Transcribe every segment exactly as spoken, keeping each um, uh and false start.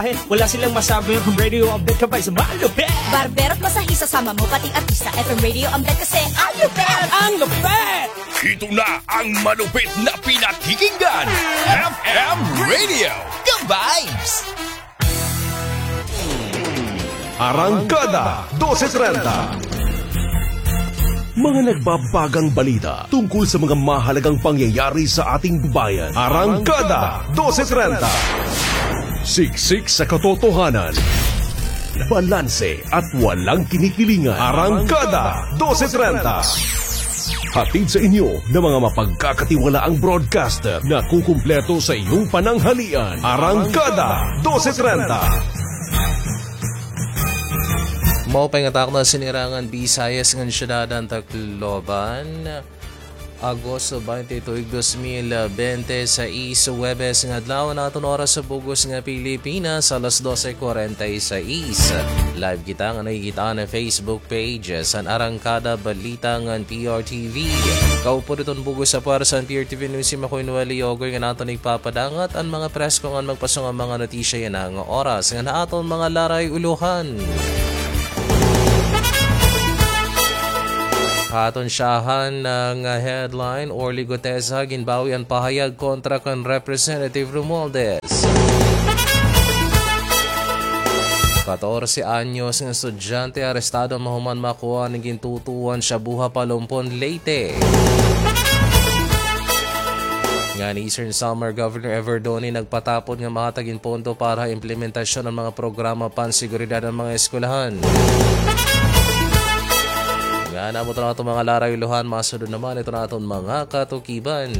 Ay, wala silang masabi, F M Radio Update ka pa, isa malupit! Barbero at masahista, sama mo pati artista, F M Radio Update kasi ang lupit! Ang lupit! Ito na ang malupit na pinakikinggan, F M Radio, ka vibes! Arangkada dose trenta. Mga nagbabagang balita tungkol sa mga mahalagang pangyayari sa ating bayan. Arangkada dose trenta. Siksik sa katotohanan. Balanse at walang kinikilingan. Arangkada dose trenta. Hatid sa inyo ng mga mapagkakatiwalaang broadcaster na kukumpleto sa iyong pananghalian. Arangkada dose trenta. Maupay nga takna, sinirangan Bisayas ngan syudad han Tacloban. Agosto twenty-two, dos mil bente sais, Huwebes nga adlaw, an aton oras sa bug-os nga Pilipinas, alas dose cuarenta y seis. Live kita nga nakikita han Facebook page san Arangkada Balita ngan P R T V. Kaupod iton bug-os nga pwersa han P R T V News, si Makoy Noel Iogoy nga aton igpapadangat an mga presko ngan magpaso nga mga notisya yana nga oras. Ngan ha aton mga laray-ulohan, ha aton syahan nga headline, Orly Guteza ginbawi an pahayag kontra kan Representative Romualdez. Katorse anyos nga estudyante arestado mahuman makuha an gintutuohan shabu ha Palompon, Leyte. Ngan Eastern Samar Governor Evardone nagpatapod nga mahatag hin pondo para ha implementasyon han mga programa panseguridad han mga eskwelahan. Ngan amo iton aton mga laray-ulohan, masunod naman iton aton mga katukiban.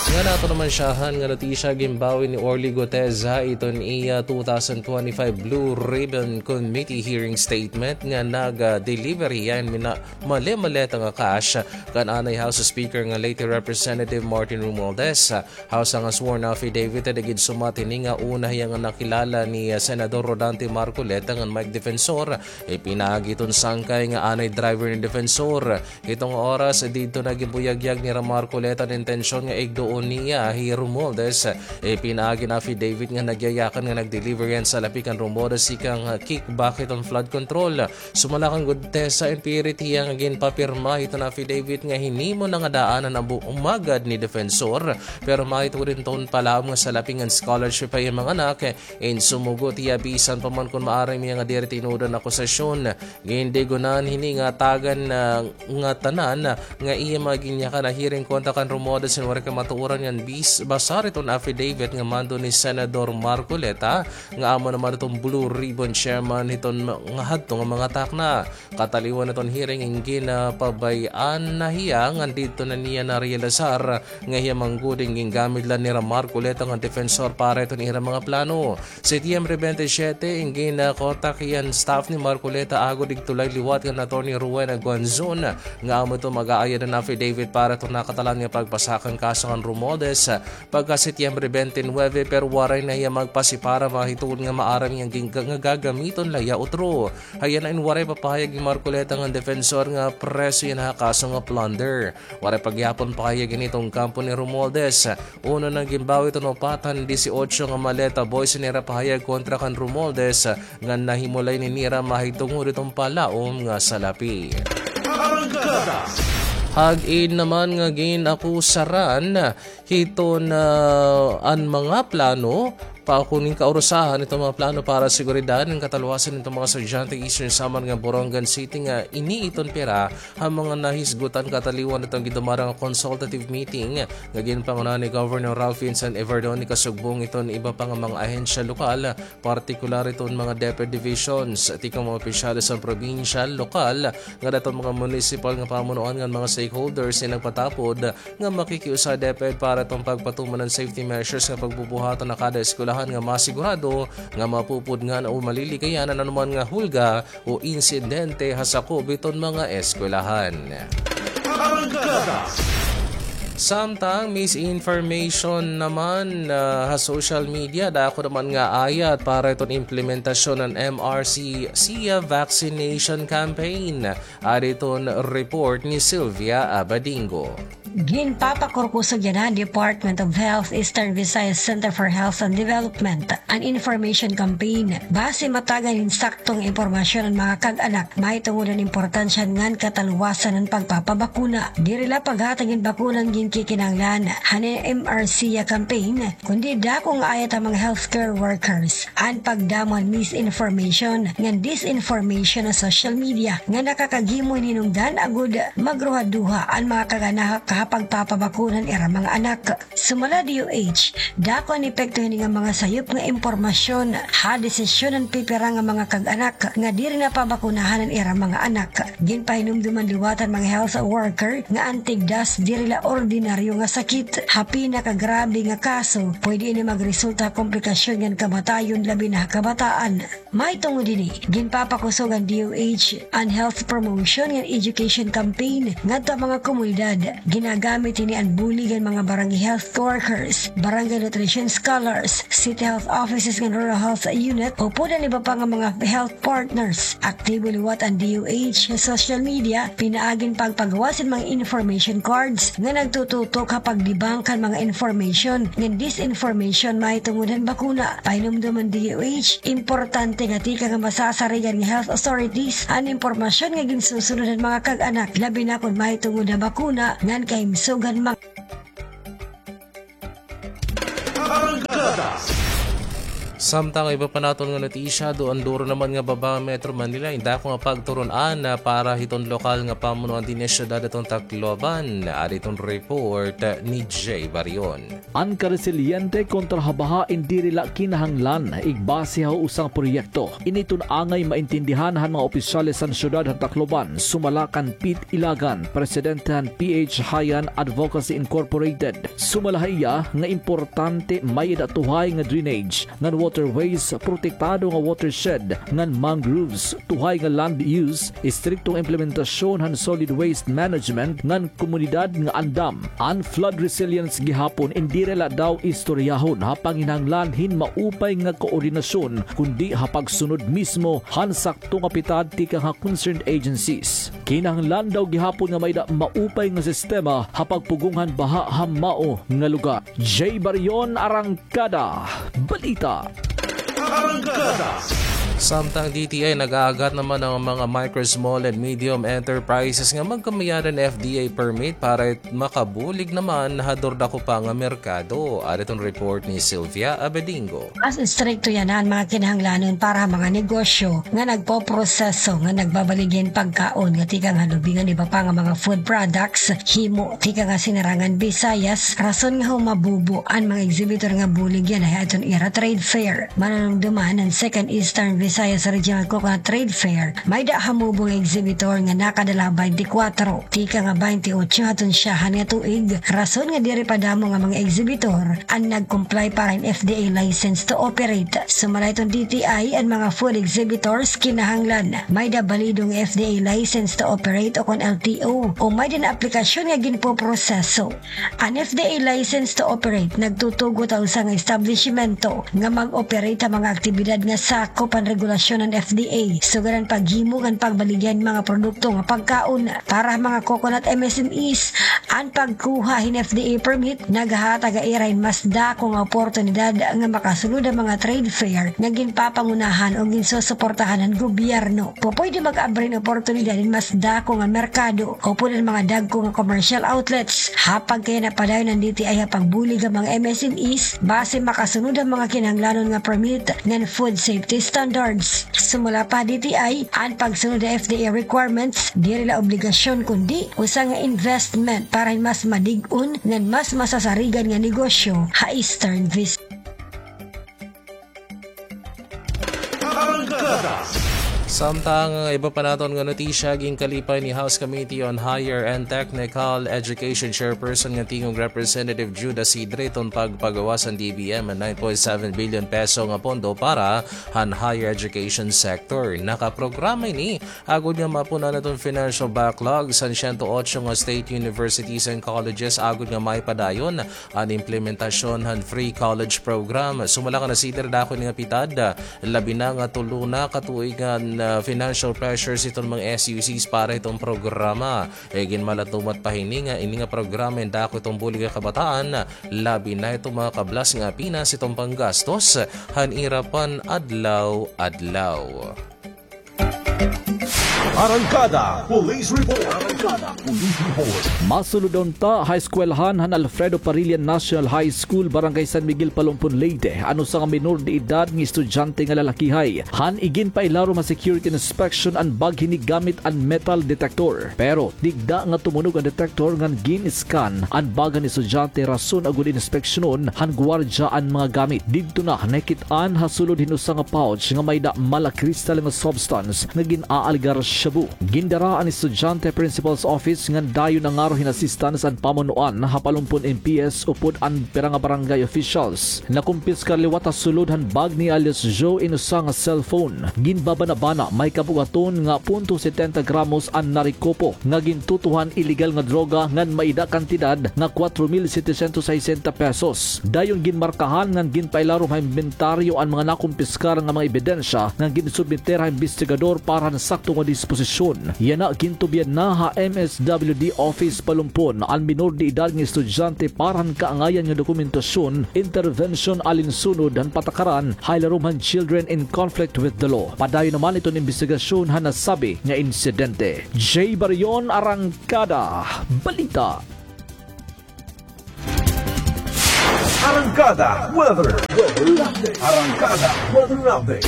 Ngan aton naman syahan nga notisya, ginbawi ni Orly Guteza iton iya two thousand twenty-five Blue Ribbon Committee hearing statement nga nag-deliver hiya hin mina-, male-maleta nga cash kan anay House Speaker nga Leyte Representative Martin Romualdez. House nga sworn affidavit, adi gid sumat hini nga una hiya nga nakilala ni, ah, Senador Rodante Marcoleta ngan Mike Defensor. Ipinaagi iton sangkay nga anay driver ni Defensor. Hiton nga oras, didto na ginbuyagyag ni Marcoleta an intensyon nga igduon niya hi Romualdez. Ipinaagi han affidavit nga nagyayakan nga nag-deliver hiya hin salapi kan Romualdez tikang, ah, kickback hiton flood control. Sumala kan Guteza, in pirit hiya nga ginpapirma hiton affidavit nga hinimo na nga daan an abu-, umagad ni Defensor, pero mahitungod hiton palaom nga salapi ngan scholarship ha iya mga anak, in sumugot hiya bisan pa man kon maaram hiya nga diri tinuod an akusasyon. Gindigunan hini nga tagan na nga tanan nga iya mga ginyakan ha hearing kontra kan Romualdez hin waray kamatuoran ngan bis-, basar hiton affidavit nga mando ni Senador Marcoleta, nga amo naman iton Blue Ribbon Chairman hiton ma-, nga hadto nga mga takna. Kataliwan hiton hearing, in ginpabay-an na hiya ngan didto na niya narealisar nga hiya man gud in gingamit la nira Marcoleta ngan Defensor para hiton ira mga plano. Setyembre twenty-seven, in ginkontak hiya han staff ni Marcoleta agod igtulay liwat kan Attorney Rowena Guanzon nga amo iton mag-aayad han affidavit para hiton nakatalan nga pagpasakan kaso kan Romualdez pagka Setyembre twenty-nine, pero waray na hiya magpasipara mahitungod nga maaram hiya nga gin-, nga gagamiton la hiya utro. Hayan na in waray papahayag ni Marcoleta ngan Defensor nga preso hiya ha kaso nga plunder. Waray pa gihapon pahayag hini hiton kampo ni Romualdez. Uno na ginbawi hiton upat han disiotso nga maleta, buhi sa nira pahayag kontra kan Romualdez, nga nahimulay ni nira mahitungod hiton palaom nga salapi. Hag-in naman nga gin-akusaran hiton, ah, an mga plano, pa kuning kaurusahan hiton mga plano para seguridad ngan kataluwasan hiton mga estudyante Eastern Samar ngan Borongan City nga ini iton pira ha mga nahisgutan kataliwan hiton gindumara nga consultative meeting nga ginpangunahan ni Governor Ralph Vincent Evardone kasugbong hiton iba pa nga mga ahensya lokal, partikular hiton mga DepEd divisions, tikang mga opisyales han probinsyal, lokal, ngan hiton mga munisipal nga pamunuan ngan mga stakeholders nga nagpatapod nga makikiusa DepEd para hiton pagpatuman han safety measures nga pagbubuhaton ha kada eskwelahan nga masigurado nga mapupudngan o malilikayan an anuman nga hulga o insidente ha sakob hiton mga eskwelahan. Samtang misinformation naman, ah, ha social media, dako naman nga ayat para hiton implementasyon han M R C C vaccination campaign. Adi iton report ni Sylvia Abadingo. Ginpapakurkusog yana han Department of Health, Eastern Visayas Center for Health and Development, an information campaign. Basi matagan hin sakto nga impormasyon an mga kag-anak mahitungod han importansya ngan kataluwasan han pagpapabakuna. Diri la paghatag hin bakuna an ginkikinahanglan han M R C campaign, kundi dako nga ayat han mga healthcare workers. An pagdamo han misinformation ngan disinformation ha social media nga nakakaghimo hin hinungdan agod magruhaduha an mga kag-anak ha pagpapabakuna han ira mga anak. Sumala D O H, dako an epekto hini nga mga sayop nga impormasyon ha desisyon han pipira nga mga kag-anak nga diri na pabakunahan an ira mga anak. Ginpahinumduman liwat han mga health worker nga an tigdas diri la ordinaryo nga sakit. Ha pinakagrabe nga kaso, pwede ini magresulta ha komplikasyon ngan kamatayon, labi na ha kabataan. Mahitungod hini, ginpapakusog han D O H an health promotion ngan education campaign ngadto ha mga komunidad. Ginagamit hini an bulig han mga barangay health workers, barangay nutrition scholars, city health offices ngan rural health unit, upod an iba pa nga mga health partners. Aktibo liwat an D O H ha social media, pinaagi han pagpagawas hin mga information cards nga nagtututok ha pagdebunk han mga information ngan disinformation mahitungod han bakuna. Pahinumdom han D O H, importante nga tikang ha masasarigan nga health authorities an impormasyon nga ginsusunod han mga kag-anak, labi na kon mahitungod ha bakuna ngan kahimsog han mga Samtang iba pa naton nga notisya, duanduro naman nga baba han Metro Manila in dako nga pagturun-an para hiton lokal nga pamunuan dinhi ha syudad hiton Tacloban. Adi iton report ni Jay Barion. An karesiliente kontra ha baha in diri la kinahanglan igbase ha usa nga proyekto. Ini iton angay maintindihan han mga opisyales han syudad han Tacloban, sumala kan Pete Ilagan, presidente han P H Hayan Advocacy Incorporated. Sumala ha iya nga importante may-ada tuhay nga drainage ngan waterways, protektado nga watershed ngan mangroves, tuhay nga land use, istriktong implementasyon han solid waste management ngan komunidad nga andam. An flood resilience gihapon in diri la daw istoryahon ha panginahanglan hin maupay nga koordinasyon, kundi ha pagsunod mismo han sakto nga pitad tikang ha concerned agencies. Kinahanglan daw gihapon nga may-ada maupay nga sistema ha pagpugong han baha ha mao nga lugar. Jay Barion, Arangkada Balita. Arangkada. Samtang D T I, nag-aagat naman an mga micro, small, and medium enterprises nga magkamay-ada hin F D A permit para makabulig naman ha durdako pa nga merkado. Adi iton report ni Sylvia Abedingo. Mas istrikto yana an mga kinahanglanon para ha mga negosyo nga nagpoproseso ngan nagbabaligya hin pagkaon nga tikang ha lubi ngan iba pa nga mga food products, himo tikang ha Sinarangan Visayas, rason nga humabubo an mga exhibitor nga bulig yana ha aton ira trade fair. Manunumduman, an Second Eastern Visayas Regional Coconut Trade Fair may-ada hamubo nga exhibitor nga nakadala ha baynte kwatro tikang ha baynte otso haton syahan nga tuig, rason nga diri pa damo nga mga exhibitor an nag-comply para hin F D A license to operate. Sumala hiton D T I, an mga food exhibitors kinahanglan may-ada balido nga F D A license to operate o kon L T O, o may-ada aplikasyon nga ginpoproseso. An F D A license to operate nagtutugot ha usa nga establisimento nga mag-operate ha mga aktibidad nga sakop han regulasyon han F D A, sugad han paghimo ngan pagbaligya hin mga produkto nga pagkaon. Para ha mga coconut M S M Es, an pagkuha hin F D A permit naghahatag ha ira hin mas dako nga oportunidad nga makasulod ha mga trade fair nga ginpapangunahan o ginsusuportahan han gobyerno. Pupwede mag-abri hin oportunidad hin mas dako nga merkado upod an mga dagko nga commercial outlets. Ha pagkayana padayon an D T I ha pagbulig ha mga M S M Es basi makasunod ha mga kinahanglanon nga permit ngan food safety standards. Sumala pa ha D T I, an pagsunod ha F D A requirements diri la obligasyon kundi usa nga investment para hin mas madig-on ngan mas masasarigan nga negosyo ha Eastern Visayas. Samtang iba pa naton nga notisya, ginkalipay ni House Committee on Higher and Technical Education Chairperson nga tingog Representative Judah Sidre iton pagpagawas han D B M han nine point seven billion peso nga pondo para han higher education sector. Nakaprograma ini agod nga maapon-an iton financial backlog han siyento otso nga state universities and colleges agod nga maipadayon an implementasyon han free college program. Sumala kan Sidre, dako ini nga pitad, labi na nga tulo na ka tuig nga na financial pressures iton mga S U Cs para hiton programa. Iginmalatumat pa hini nga ini nga programa in dako iton bulig ha kabataan, labi na iton mga kablas nga pinas iton panggastos han ira pan-adlaw-adlaw. Arangkada Police Report. Arangkada Police Report. Masulod unta ha eskwelahan han Alfredo Parilla National High School, Barangay San Miguel, Palumpon, Leyte, an usa nga minor de edad nga estudyante nga lalakihay. Han iginpailarom ha security inspection an bag hini gamit an metal detector. Pero digda nga tumunog an detector ngan gin-scan an bag han estudyante, rason agod inspeksyonon han guwardya an mga gamit. Didto na nakit-an ha sulod hin usa nga pouch nga may-ada mala crystal nga substance nga gin-aalgar shabu. Gindara an estudyante ha principal's office ngan dayon nangaro hin assistance an pamunuan ha Palumpon M P S upod an pira nga barangay officials. Nakumpiskar liwat ha sulod han bag ni alias Joe in usa nga cellphone. Ginbabanabana may kabug-aton nga punto setenta gramos an narekupo nga gintutohan iligal nga droga ngan may-ada kantidad nga kuwatro mil setecientos sesenta pesos. Dayon ginmarkahan ngan ginpailarom ha imbentaryo an mga nakumpiskar nga mga ebidensya ngan ginsubmeter ha imbestigador para han sakto nga disposisyon. Yana gintubyan na ha M S W D Office Palumpon an minor de edad nga estudyante para han kaangayan nga dokumentasyon, intervention alinsunod han patakaran ha ilarom han Children in Conflict with the Law. Padayon naman iton imbestigasyon han nasabi nga insidente. Jay Barion, Arangkada Balita. Arangkada Weather. Arangkada Weather Update.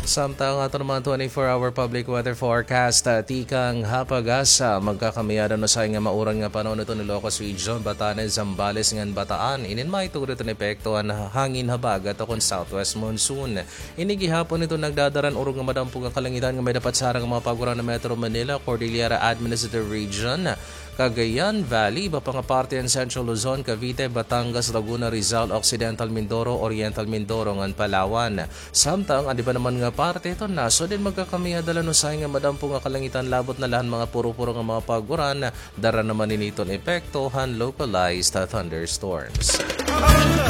Samtang aton naman twenty-four hour public weather forecast, ah, tikang ha PAGASA, magkakamiyadan usahay nga mauran nga panon iton Ilocos Region, Batanes, Zambales, ngan Bataan. Inin may tugot iton epekto han hangin habagat ukon southwest monsoon. Ini gihapon iton nagdadara han urog nga madampo nga kalangitan nga may dapat sarang mga paguran han Metro Manila, Cordillera Administrative Region, Cagayan Valley, iba pa nga parte han Central Luzon, Cavite, Batangas, Laguna, Rizal, Occidental Mindoro, Oriental Mindoro, ngan Palawan. Samtang an iba naman nga parte hiton nasod in magkakamiyadan usahay nga madampo nga kalangitan labot na la han mga puro-puro nga mga paguran, dara naman ini iton epekto han localized thunderstorms.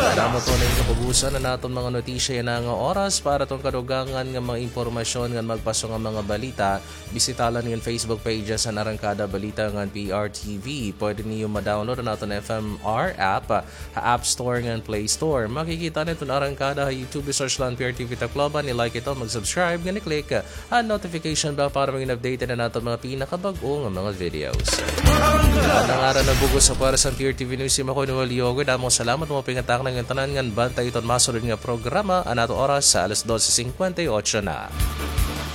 Salamat po na yung kapugusan na naton mga notisya yana nga oras. Para tong kadugangan nga mga impormasyon ngan magpaso nga mga balita, bisita la niyo an Facebook pages han Arangkada Balita ngan P R T V. Pwede niyo ma-download an aton F M R app ha App Store ngan Play Store. Makikita niyo iton Arangkada ha YouTube, i-search la an P R T V Tacloban, i-like ito, mag-subscribe, ngan i-click an notification bell para magin updated an aton mga pinakabag-o nga mga videos. An ngaran nga bug-os ha pwersa han P R T V News, hi Makoy Noel Yogo. Damo nga salamat, mga pingataknang nga tanan, ngan bantay iton masunod nga programa. An aton oras ha alas dose singkwenta y otso na.